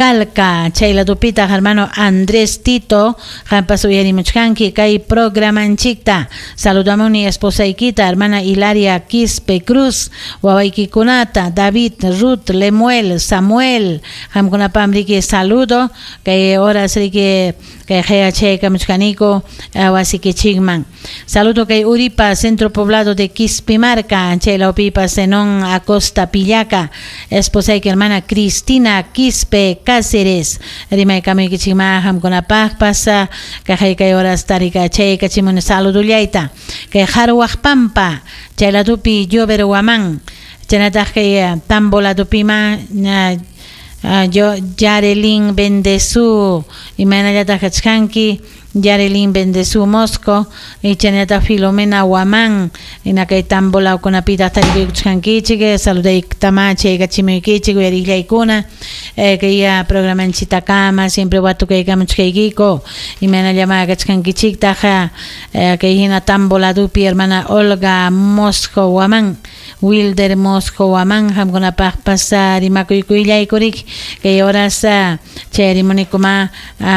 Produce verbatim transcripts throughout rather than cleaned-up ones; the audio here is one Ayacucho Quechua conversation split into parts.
Calca, chayladupita hermano Andrés Tito, qampas uyarimuchkanki kay programanchikta. Saludamuni esposayquita, hermana Hilaria Quispe Cruz, wawaykikunata, David, Ruth, Lemuel, Samuel, qamkunapam riki saludo, kay horas riki kay qhayachaykamuchkaniko wasikichikman. Saludo kay Uripa, centro poblado de Quispimarca, chaylawpipas Zenón Acosta Pillaca, esposayki hermana Cristina Quispe Cáceres, rimaykamuykichikma qamkunapaqpas kaqay kay horas tarika chaykachimun saludullayta. Kay Jarwaqpampa, chayladupi Llover Huamán, chaynataq kay Tambo ladupima yo Yarelín Bendezú, imaynallataq kachkanki Yarelín Bendezú Mosco, y chaynataq Filomena Huamán, ina kay Tambo lawkunapitaq tarikuykuchkankichik, saludaytama chaykachimuykichik uyariqllaykuna, kay programanchitakama siempre watukaykamuchkaykiko, imaynallama kachkankichiktaq kay hina Tambo ladupi hermana Olga Mosco Huamán, Wilder Mosco Huamán, qamkunapaqpas rimakuykuyllaykuri, kay horas chayarimunikuma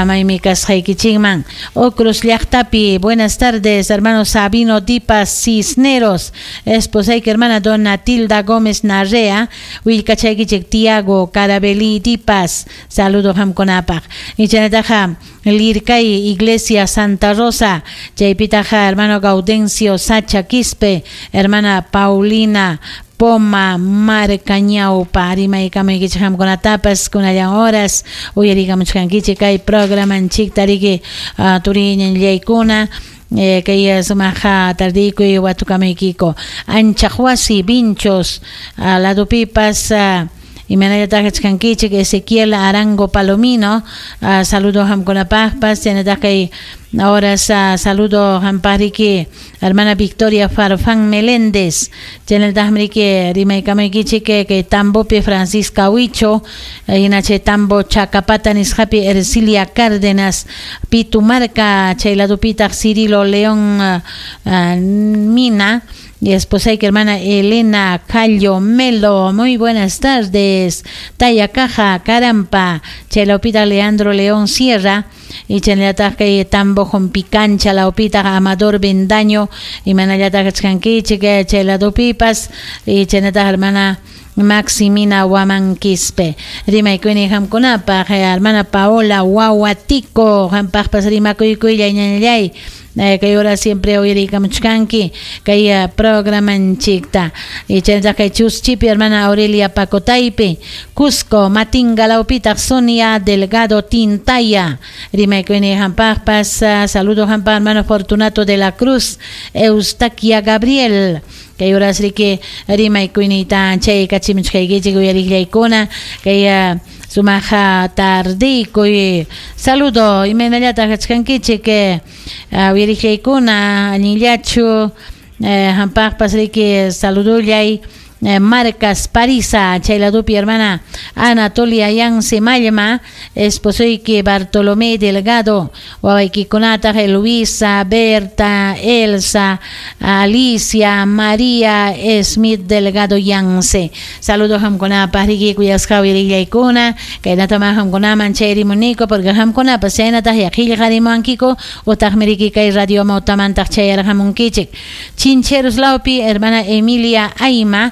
maymi kasqaykichikman. Ocros llaqtapi, buenas tardes, hermano Sabino Dipas Cisneros, esposayki hermana Dona Tilda Gómez Narrea, willkachaykichik Tiago Carabelí Dipas, saludo qamkunapaq. Y chaynataqa Lircay, Iglesia Santa Rosa, chaypitaqa hermano Gaudencio Sacha Quispe, hermana Paulina Poma Marcañaupa, rimaykamaykichik qamkunatapas kunallan horas uyarikamuchkankichik kay programanchikta riki turiñallaykuna. Kay sumaqa tardiykuy watukamuykiko. Anchaqwasi Vinchos ladupipas imaynallataq kachkankichik Ezequiel Arango Palomino, saludo qamkunapaqpas, chaynataq kay horas saludo qampariki hermana Victoria Farfán Meléndez, chaynallataqmi riki rimaykamaykichik kay Tambopi Francisca Huicho, hina chay Tambo Chacapata nisqapi Ercilia Cárdenas, Pitumarca chay ladupitaq Cirilo León Mina, y esposayki hermana Elena Callo Melo, muy buenas tardes. Taya Caja, Carampa, chaylawpita Leandro León Sierra, y chaynallataq kay Tambo Jompicancha, lawpita Amador Bendaño, imaynallataq kachkankichik chay ladupipas, y chaynataq hermana Maximina Huamán Quispe. Rimaykuyni qamkunapaq, hermana Paola Wahuatico, qampaqpas rimakuykuyllay ñañallay. Kay hora siempre uyarikamuchkanki kay programanchikta. Y chaynataq kay Chuschipi hermana Aurelia Pacotaype, Cusco, Matinga lawpitaq Sonia Delgado Tintaya. Rimaykuyni qampaqpas, saludo qampaq hermano Fortunato de la Cruz, Eustaquia Gabriel. Kay horas riki rimaykuynita chaykachimuchkaykichik uyariqllaykuna kay sumaqa tardiykuy. Saludo imaynallataq kachkankichik uyariqllaykuna allinllachu qampaqpas riki saludullay. Marcas Parisa, chayladupi hermana Anatolia Yance Mallma, esposoyki Bartolomé Delgado, wawaykikunataq Luisa, Berta, Elsa, Alicia, María Smith Delgado Yance. Saludos qamkunapaq riki kuyasqa uyariqllaykuna, kaynatama qamkunaman chayrimuniko porque qamkunapas chaynataq yaqillqarimuwankiko utaqmi riki kay radio mawtamantaq chayarqamunkichik. Chincheros lawpi hermana Emilia Aima,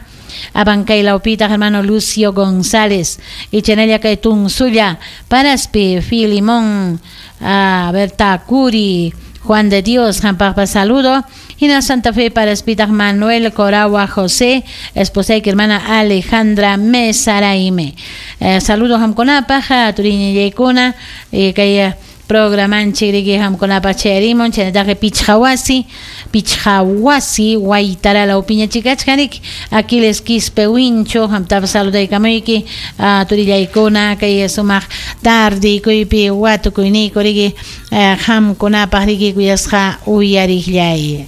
Abancay lawpitaq hermano Lucio González, y chaynalla kay Tunsulla, Paraspi, Filimón, Berta Curi, Juan de Dios, qampaqpas saludo. Hina Santa Fe Paraspitaq Manuel Coragua José, esposayki hermana Alejandra Mesaraime. Eh, saludo qamkunapaq, turiñallaykuna, kay programanchik riki qamkunapaq chayarimun, chaynataq Pichqawasi, Pichqawasi Waytara lawpiñachikachkarik, Aquiles Quispe Wincho, qamtapas saludaykamuyki, turillaykuna kay sumaq tardiykuypi watukuyniyku riki qamkunapaq riki kuyasqa uyariqllay.